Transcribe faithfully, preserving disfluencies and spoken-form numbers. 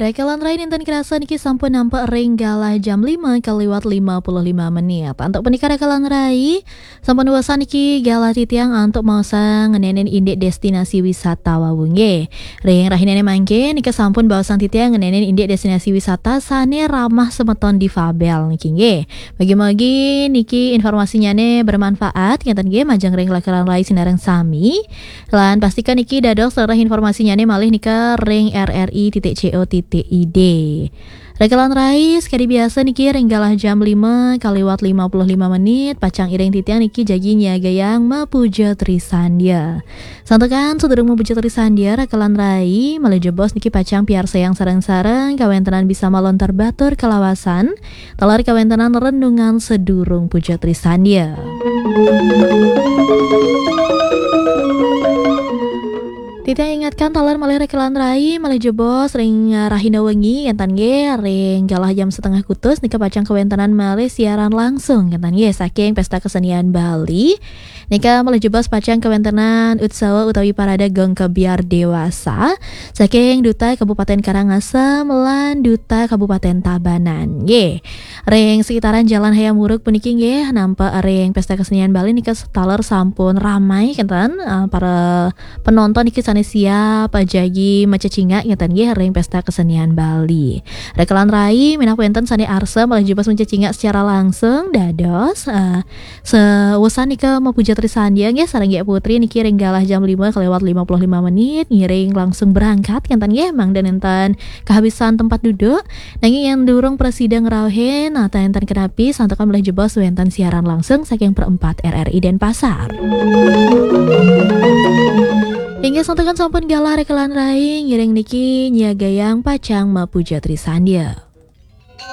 Rekelan rai, ninten kerasa niki sampun nampek ring galah jam lima kaliwat lima puluh lima menit. Antuk punika rekelan rai, sampun wasa niki galah titiang antuk maosang ngeninin indik destinasi wisata wau nggih. Ring rahinane mangkin nika sampun baosang titiang ngeninin indik destinasi wisata sane ramah semeton difabel niki nggih. Mugi-mugi niki informasinyane bermanfaat ngeten nggih majeng ring rekelan rai sinareng sami. Lan pastikan niki dados lereh informasinyane malih nika ring R R I titik C O titik I D. Rekelan rai, sekadi biasa niki ring galah jam lima kaliwat lima puluh lima menit, pacang iring titiang niki jagi nyiagayang mapuja trisandia. Santukan sadurung mapuja trisandia, rekelan rai, malih jebos niki pacang piarsayang sareng-sareng kawentenan bisa malontar batur kalawasan, taler kawentenan renungan sadurung puja trisandia. Titiang ingatkan taler malih rekelan rai, malih jebos ring, uh, rahina wengi, ngenten nggih, ring galah jam setengah kutus, nika pacang kawentenan malih siaran langsung, ngenten nggih, saking Pesta Kesenian Bali. Nika malih jebos pacang kawentenan utsawa utawi parade Gong Kebyar Dewasa, saking Duta Kabupaten Karangasem lan Duta Kabupaten Tabanan. Nggih. Ring sekitaran Jalan Hayam Wuruk puniki nggih, nampek ring Pesta Kesenian Bali nika taler sampun ramai kenten, eh, para penonton niki sane siap, eh, jagi macecingak ngeten nggih ring Pesta Kesenian Bali. Rekelan rai, minangka wenten sane arsa malih jebos macecingak secara langsung, dados, eh, seusan nika mapuja trisandia nggih sareng Gek Putri niki ring galah jam lima kaliwat lima puluh lima menit, ngiring langsung berangkat ngenten nggih, mangda nenten kehabisan tempat duduk. Nanging yen durung prasida ngrauhin, nah, enten kenapi, santukan malih jebos wenten siaran langsung saking Perempat R R I Denpasar. Inggih santukan sampun galah rekelan rai, ngiring niki nyiagayang pacang mapuja trisandia.